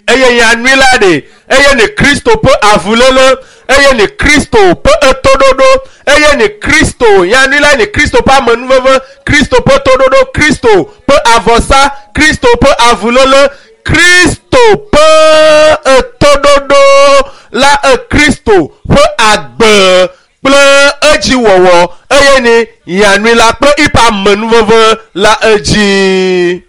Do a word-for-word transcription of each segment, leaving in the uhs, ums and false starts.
Eye nyanui la ɖe eye ne Kristo ƒe avuléle, eye ne Kristo ƒe etoɖoɖo, eye ne Kristo nyanui la ne Kristo ƒe amenuveve, Kristo ƒe toɖoɖo, Kristo ƒe avɔsa, Kristo ƒe avuléle, Kristo ƒe etoɖoɖo la e Kristo ƒe agbe kple edziwɔwɔ, eye ne nyanui la kple eƒe amenuveve la edzi.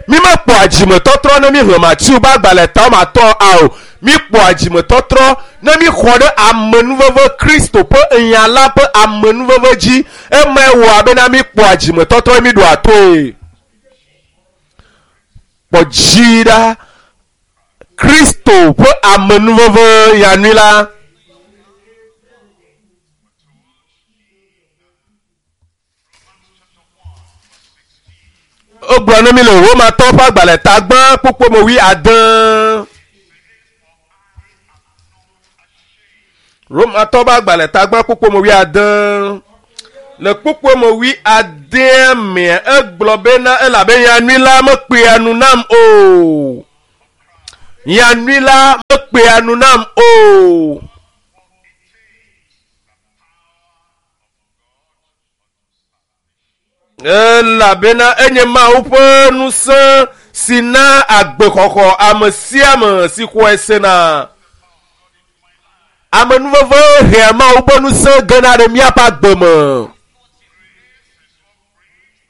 Mi mekpɔa dzimetɔtrɔ ne mi xlẽ Matiu be agbalẽ ta wɔme atɔ̃ ao. Mi kpɔa dzimetɔtrɔ ne mi xɔ ɖe amenuveve Kristo ƒe nya la ƒe amenuveve dzi. Emae wɔ abena mi kpɔa dzimetɔtrɔ mi ɖoa toe. Kpɔ dzi ɖa Kristo ƒe amenuveve nyanui la. Wogblɔ ne mi le Romatɔwo ƒe agbalẽ ta gbã kpukpui me wui ade. Romatɔwo ƒe agbalẽ ta gbã kpukpui me wui ade. Le kpukpui me wui adea mea, egblɔ bena elabe nyanui la mekpea nu nam o. Nyanui la mekpea nu nam o. Elabena enye Mawu ƒe ŋusẽ si na agbexɔxɔ ame sia ame si xɔe sena. Amenuveve hea Mawu ƒe ŋusẽ gena ɖe míaƒe agbe me.